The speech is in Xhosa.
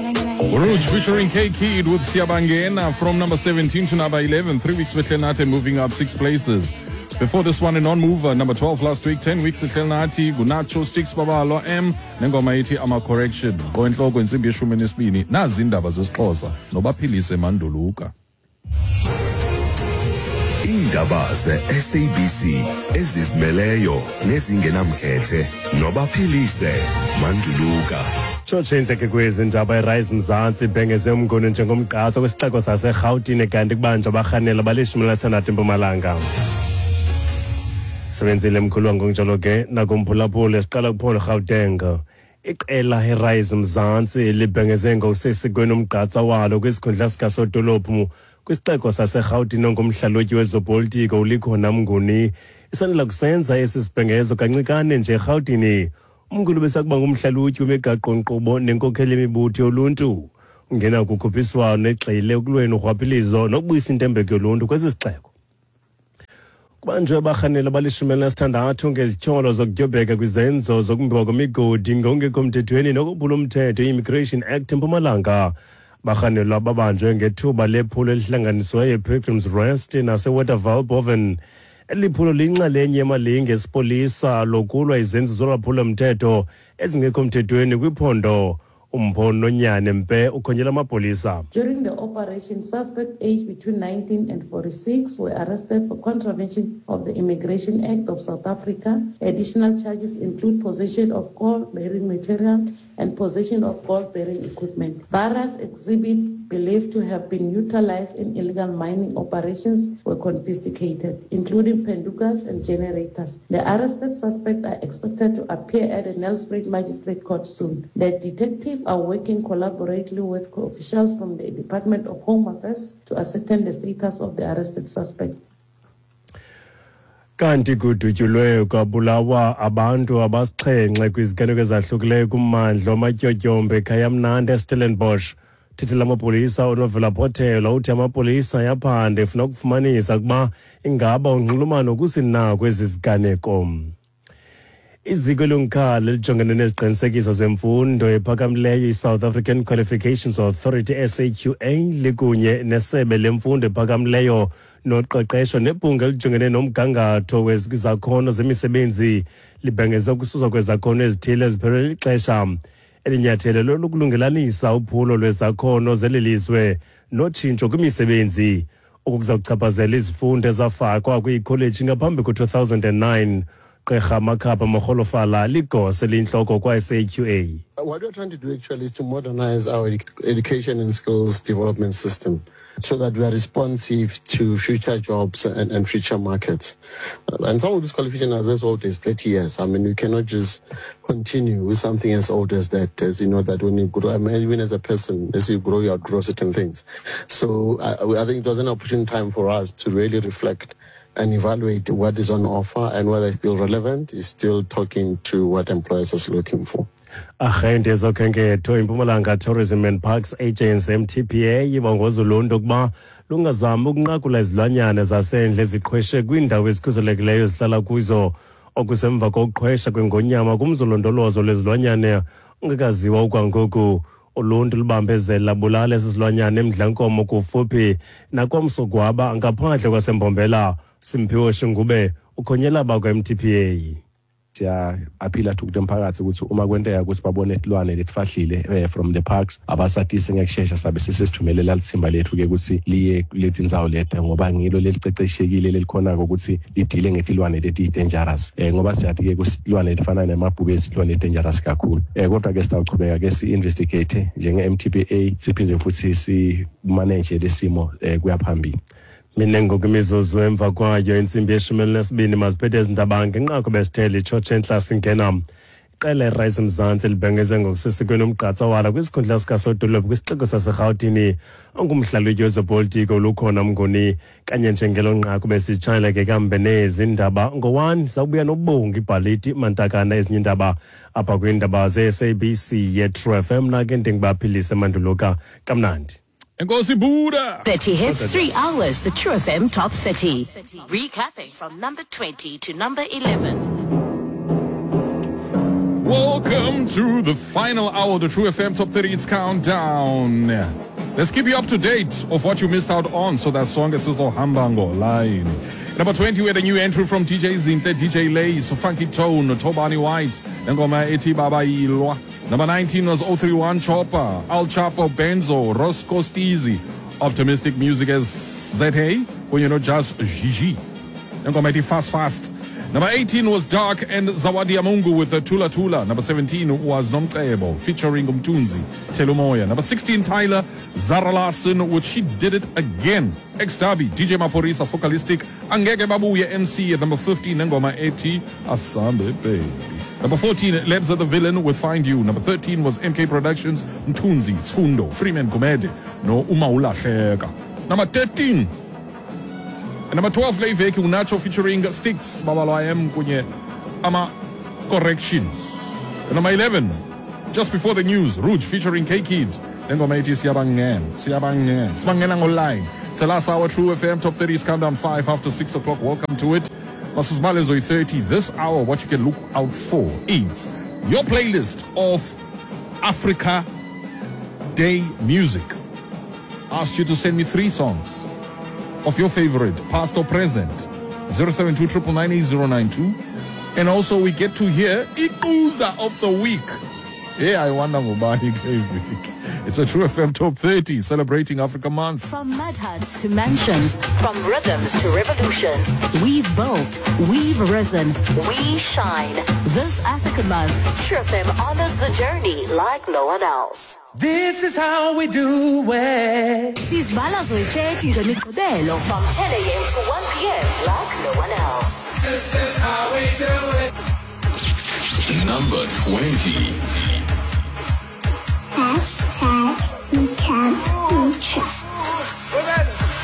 Rouge featuring K Kid with Siyabangena from number 17 to number 11. 3 weeks with Lenate moving up 6 places. Before this one, a non-mover, number 12 last week, 10 weeks ehlelnathi ngunacho Sticks Babalo M nengoma ithi ama-correction. Ngoentloko intsimbi yeshumi nesibini, nazi iindaba zesiXhosa nobaphilise Manduluka. Iindaba ze-SABC ezizimeleyo nezingenamkhethe nobaphilise Manduluka. Tshotshe intleke kwezi ndaba. IRise Mzantsi ibhengeze uMnguni njengomgqatswa kwisixeko saseRhawutini, kanti kubanjwa abarhanela bali-16 eMpumalanga. Sebenzile mkhulu ngokunjalo ke nakumphulaphuli. Siqala kuphondo Gauteng. Iqela iRise Mzantsi libhengeze ngokusesikweni umgqatsa walo kwisikhundla sikasodolophu kwisixeko saseRhawutini ongumhlalutyi wezopolitiko uLikhona Mnguni. Isandula kusenza esi sibhengezo kancikane nje eRhawutini. UMnguni besakuba ngumhlalutyi wemigaqo-nkqubo nenkokheli yemibutho yoluntu. Ungena kukhuphiswano egxile ekulweni urhwaphilizo nokubuyisa intembeko yoluntu kwesi sixeko. Kubanjwe abarhaneli abali-16 ngezityholo zokudyobheka kwizenzo zokumbiwa kwemigodi ngokungekho mthethweni nokophula umthetho i-Immigration Act eMpumalanga. Barhanelwa babanjwe ngethuba lephulo elihlanganisiweyo ePilgrim's Rest naseWaterval Boven. Eli phulo liyinxalenye yemalinge esipolisa lokulwa izenzo zolwaphulo-mthetho ezingekho mthethweni kwiphondo. Umpho Nonyane Mpe ukhonyela amapolisa. During the operation, suspects aged between 19 and 46 were arrested for contravention of the Immigration Act of South Africa. Additional charges include possession of gold-bearing material and possession of gold-bearing equipment. Various exhibits believed to have been utilized in illegal mining operations were confiscated, including pendukas and generators. The arrested suspects are expected to appear at the Nelspruit Magistrate Court soon. The detectives are working collaboratively with officials from the Department of Home Affairs to ascertain the status of the arrested suspect. Kanti kudutyulwe kwabulawa abantu abasixhenxe kwiziganeko ezahlukileyo kummandla wamatyotyombe eKhayamnandi eStellenbosch. Thethela amapolisa uNovela Potelwa uthi amapolisa ayaphanda efuna ukufumanisa ukuba ingaba unxulumano kusini kwezi ziganeko. Iziko elungikhala elijongene neziqinisekiso zemfundo ephakamileyo i-South African Qualifications Authority, SAQA, likunye nesebe lemfundo ephakamileyo noqeqesho nebhunga elijongene nomgangatho wezakhono zemisebenzi libhengeze ukususwa kwezakhono ezithile eziphelelwe lixesha. Eli nyathelo lolukulungelanisa uphulo lwezakhono zeli lizwe notshintsho kwimisebenzi. Oku kuza kuchaphazela izifundo ezafakwa kwiikholeji ngaphambi ku-2009. Gqirha Makhapa Morholofala ligosa eliyintloko kwa-SAQA. What we're trying to do actually is to modernize our education and skills development system so that we are responsive to future jobs and future markets. And some of these qualifications are as old as 30 years. I mean, you cannot just continue with something as old as that, as you know, that when you grow, I mean, even as a person, as you grow, you outgrow certain things. So I think it was an opportune time for us to really reflect and evaluate what is on offer and whether it's still relevant, is still talking to what employers are looking for. Arhente yezokhenketho iMpumalanga Tourism and Parks Agency, MTPA, ibongoza uluntu ukuba lungazami ukunqakula izilwanyana zasendle eziqhweshe kwiindawo ezikhuselekileyo ezihlala kuzo. Okusemva kokuqhwesha kwengonyama kumzolondolozo lwezilwanyana ungekaziwa okwangoku. Uluntu lubambezela bulala esi silwanyana eMdlankomo kufuphi naKwaMsogwaba ngaphandle kwaseMbombela. Simphiwe Shingube ukhonyela bakwa-MTPA. Siya-appeala to umphakathi ukuthi uma kwenteka ukuthi babone tilwane letifahlile from the parks, abasatise ngekushesha, sabe sesithumelela litsimba lethu-ke ukuthi liye kuletindzawo leti, ngoba ngilo leliceceshekile lelikhonako ukuthi lidile ngetilwane leti-dangerous, ngoba siyathi-ke kusilwane letifana nemabhubesi, tilwane leti-dangerous kakhulu. Kodwa-ke sitawuchubeka-ke si-investigate njenge-MTPA, siphinde futhi si-manage lesimo kuya phambili. Mine ngoku imizuzu emva kwayo intsimbi ye-12. Maziphethe ezi ndaba ngenqaku besithele itshotshe entla singena. Iqela iRise Mzantsi libhengeze ngokusesikweni umgqatsa walo kwisikhundla sikasodolophu kwisixeko saseRhawutini ongumhlalutyi wezopolitiko Lukhona Mnguni. Kanye njengelo nqaku besitshayela ke kambe nezi ndaba ngo-1, sawubuya nobongi ibhaliti mantakana ezinye iindaba apha kwiindaba ze-SABC ye-True FM. Nake ndingubaphilise Manduluka, kamnandi. Enkosi Buddha. 30 hits, 3 hours. The True FM Top 30. Recapping from number 20 to number 11. Welcome to the final hour of the True FM Top 30. It's countdown. Let's keep you up to date of what you missed out on. So that song is sizohamba line. Number 20, we had a new entry from DJ Zinhle, DJ Lace, Funky Tone, Tobani White, Ngoma ethi Baba Ilwa. Number 19 was 031 Chopper, Al Chapo Benzo, Roscoe Steezy, Optimistic Music as ZA, kunye no Just Gigi. Ngoma ethi Fast Fast. Number 18 was Dark and Zawadi Amungu with the Tula Tula. Number 17 was Nomcebo featuring Umtunzi, Telumoya. Number 16, Tyler Zara Larson with She Did It Again. Ex Derby, DJ Maphorisa, Focalistic, Angeke Babuye MC. At number 15, Ngoma ethi Asambe Baby. Number 14, Lebza the Villain with Find You. Number 13 was MK Productions, Mtunzi, Sfundo, Freeman Gumede, no Umaulahleka. Number 13, and number 12, Leiveki uNacho featuring Sticks, Babalo M kunye ama Corrections. And number 11, just before the news, Rouge featuring K-Kid. Lengoma ethi Siyabangena, Siyabangena, Sibangena online. It's the last hour, True FM Top 30 is countdown 5 after 6 o'clock. Welcome to it. Masuzmale Zoe 30. This hour, what you can look out for is your playlist of Africa Day music. Asked you to send me 3 songs of your favorite, past or present, 072 999 And also we get to hear Ikuza of the week. Yeah, I wonder ngubani kule veki. It's a True FM Top 30 celebrating Africa Month. From mud huts to mansions, from rhythms to revolutions, we've built, we've risen, we shine. This Africa Month, True FM honors the journey like no one else. This is how we do it. Sizibala zoyi-30 ngemigqibelo from 10 a.m. to 1 p.m. like no one else. This is how we do it. Number 20. Hashtag